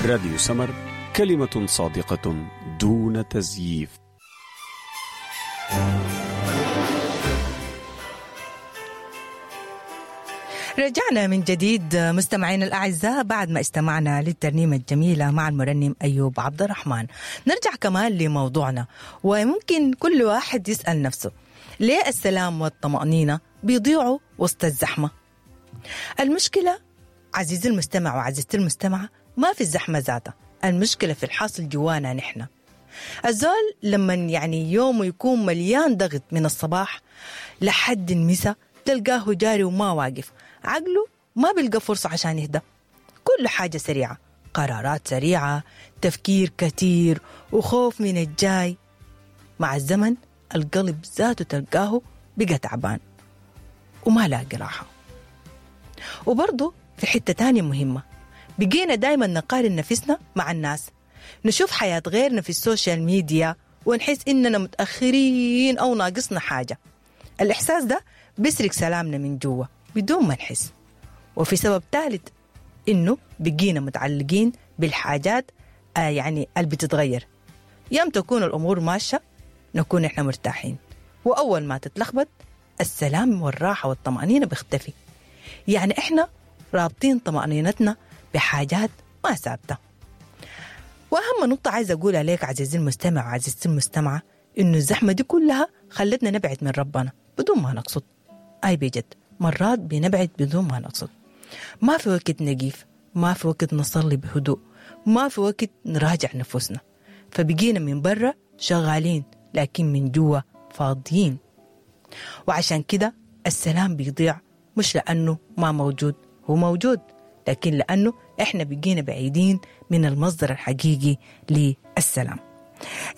راديو سمر، كلمة صادقة دون تزييف. رجعنا من جديد مستمعينا الأعزاء بعد ما استمعنا للترنيمة الجميلة مع المرنم أيوب عبد الرحمن. نرجع كمان لموضوعنا، وممكن كل واحد يسأل نفسه ليه السلام والطمأنينة بيضيعوا وسط الزحمة؟ المشكلة عزيزي المستمع وعزيزتي المستمعة ما في الزحمة ذاتها، المشكلة في الحاصل جوانا نحن. الزول لما يعني يومه يكون مليان ضغط من الصباح لحد المساء تلقاه جاري وما واقف، عقله ما بيلقى فرصة عشان يهدى. كل حاجة سريعة، قرارات سريعة، تفكير كتير وخوف من الجاي. مع الزمن القلب ذاته تلقاه بقى تعبان وما لاقي راحة. وبرضه في حتة تانية مهمة، بقينا دايما نقارن نفسنا مع الناس، نشوف حياة غيرنا في ال social media ونحس إننا متأخرين أو ناقصنا حاجة. الإحساس ده بيسرق سلامنا من جوا بدون ما نحس. وفي سبب ثالث، إنه بقينا متعلقين بالحاجات يعني اللي بتتغير. يوم تكون الأمور ماشية نكون إحنا مرتاحين، وأول ما تتلخبط السلام والراحة والطمأنينة بيختفي. يعني إحنا رابطين طمأنينتنا بحاجات ما ثابتة. وأهم نقطة عايزة أقولها لك عزيزي المستمع وعزيزتي المستمعة، إنه الزحمة دي كلها خلتنا نبعد من ربنا بدون ما نقصد. أي بجد مرات بنبعد بدون ما نقصد. ما في وقت نقيف، ما في وقت نصلي بهدوء، ما في وقت نراجع نفوسنا. فبقينا من برا شغالين لكن من جوا فاضيين. وعشان كده السلام بيضيع، مش لأنه ما موجود، هو موجود، لكن لأنه إحنا بقينا بعيدين من المصدر الحقيقي للسلام.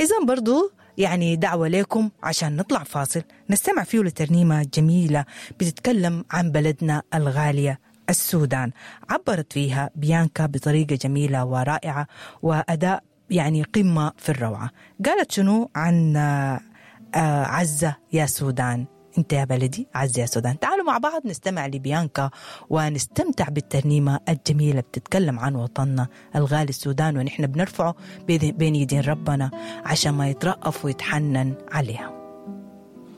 إذن برضو يعني دعوة لكم عشان نطلع فاصل نستمع فيه لترنيمة جميلة بتتكلم عن بلدنا الغالية السودان، عبرت فيها بيانكا بطريقة جميلة ورائعة وأداء يعني قمة في الروعة. قالت شنو عن عزة يا سودان، انت يا بلدي عزة يا سودان. تعالوا مع بعض نستمع لبيانكا ونستمتع بالترنيمة الجميلة بتتكلم عن وطننا الغالي السودان، ونحن بنرفعه بين يدين ربنا عشان ما يترأف ويتحنن عليها.